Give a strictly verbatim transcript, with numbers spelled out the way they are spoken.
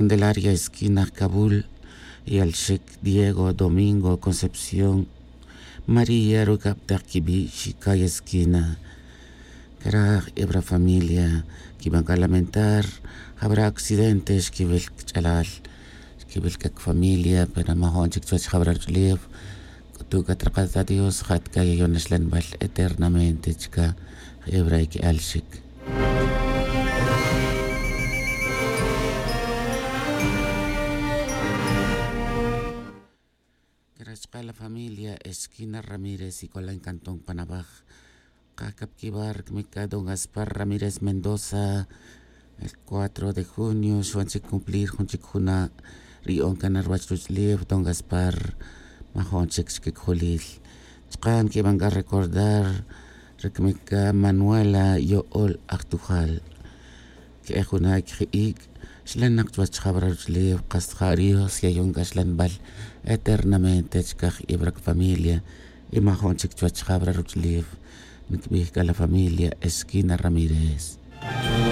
Candelaria esquina jcabul. Yalxic diego domingo concepción. María rucab tak quibi' xicay esquina. Craj ebra familia quiban ca lamentar. Jabra accidente xquibil cch'alal. Xquibil c'a cfamilia pero majo'n chic chuwech jabra ruch'ulef. C'utu' c'a trakat adios jat c'a yayon naxlanbal eternamente chica. Ebra y que'al xic. Craj chka la familia esquina ramírez y c'ola en cantón panabaj. Kajcapquibar cmica don gaspar ramírez mendoza. El cuatro de junio xwan chic cumplir jun chic juna' ri'on cana ruwach ruch'ulef don gaspar. Majo'n chic xquic julil. Chka nquiban c'a recordar ricmica manuela yo'ol ajtujal. Que'ej juna' queji'ic' xlanak chuwech jabra ruch'ulef. Kas ja' dios yayon c'a xlanbal eternamente chka j'ibra cfamilia. Y majo'n chic chuwech jabra ruch'ulef. Ncbij c'a la familia esquina ramírez.